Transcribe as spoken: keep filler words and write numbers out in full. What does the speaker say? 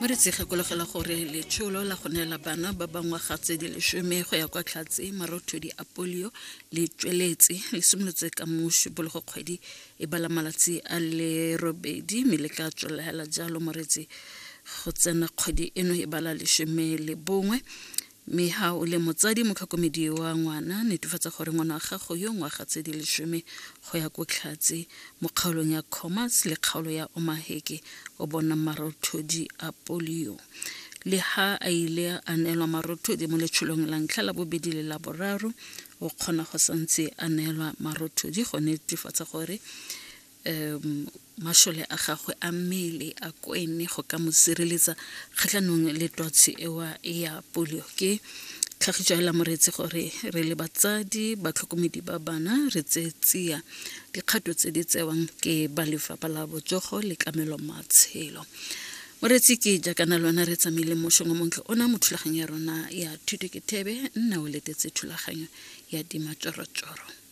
Moretsi, gakologela gore letsholo la go neela bana ba ba ngwaga tse di lesome go ya kwa tlhatse marothodi a polio le tsweletse, le simolotse ka Mošupologo kgwedi e bala malatsi a le robedi, mme le tla tswelela jalo, moretsi, go tsena kgwedi eno e bala lesome le bongwe. Mme ha o le motsadi, motlhokomedi wa ngwana, netefatsa gore ngwana wa gago yo ngwaga tse di lesome go ya ko tlhatse mo kgaolong ya Commerce le kgaolo ya Omaheke o bona marothodi a polio. Le ha a ile a neelwa marothodi mo letsholong la ntlha, la bobedi le la boraro, o kgona go santse a neelwa marothodi go netefatsa gore um masole a gagwe a mmele a kwene go ka mo sireletsa kgatlhanong le twatsi ewa ya polio. Ke tlhagiso hela, moreetsi, gore re le batsadi, batlhokomedi ba bana, re tseye tsia dikgato tse di tsewang ke ba Lefapha la Botsogo le Tlamelo Matshelo. Moreetsi, ke jaakana lona re tsamaile mošong o montle ona mo thulaganyo ya rona ya Thuto ke Thebe. Nna o letetse thulaganyo ya Dimatsorotsoro.